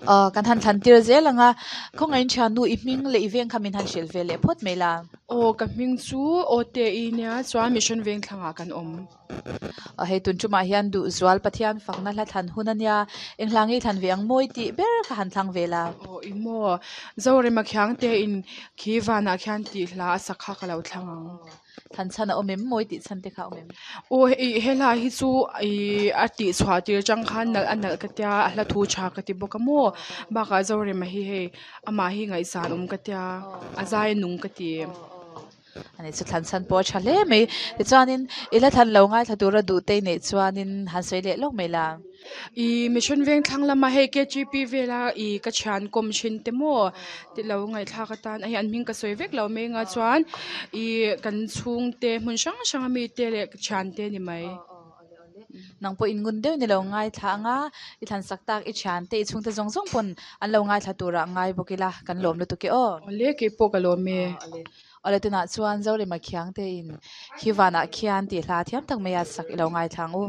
Aw kan han thlan tir zel ang a, khawngaihin thiannu i hming leh i veng kha min han hrilh ve leh phawt mai la. Aw ka hming chu Awte-i nia chuan Mission Vengthlangah kan awm. Aw hei tun tumah hian Duhzual Pathian fakna hla thlan hun a nia, eng hla ngei thlan ve ang mawi tih ber kha han thlang ve la. Aw i maw, Zorema Khiangte-in khi vanah khian tih hla a sak kha ka lo thlang ang. Thlan chhan a awm em? Mawi tih chhan te kha a awm em? Aw hei he hla hi chu ih a tih chhuah tir atang khan nalh a nalh ka tia a hla thu tha ka ti bawk a maw bakah Zorema hi hei amah hi ngaihsan awm ka tia a zai a nung ka ti. Ani chu thlan chhan pawh a tha hle mai. Tichuanin i la thlan lo ngaithla tura duh te i neih chuanin han sawi leh lawk mai la. I Mission Vengthlang lama hei KGP vela i ka thian kawm thin te maw ti lo ngaihthlak atan a hei an hming ka sawi vek lo mai anga chuan i kan chhungte hmun hrang hrang ami te leh ka thiante ni mai. Nang pawh in ngun deuh ni lo ngaithla anga i thlan sak tak i thiante i chhungte zawng zawng pawn an lo ngaithla turah ngai bawk ila kan lawm lutuk e aw. Awle keipawh ka lawm e. Awle tunah chuan Zorema Khiangte in khi vanah khian tih hla thiam tak mai a sak i lo ngaithla ang u.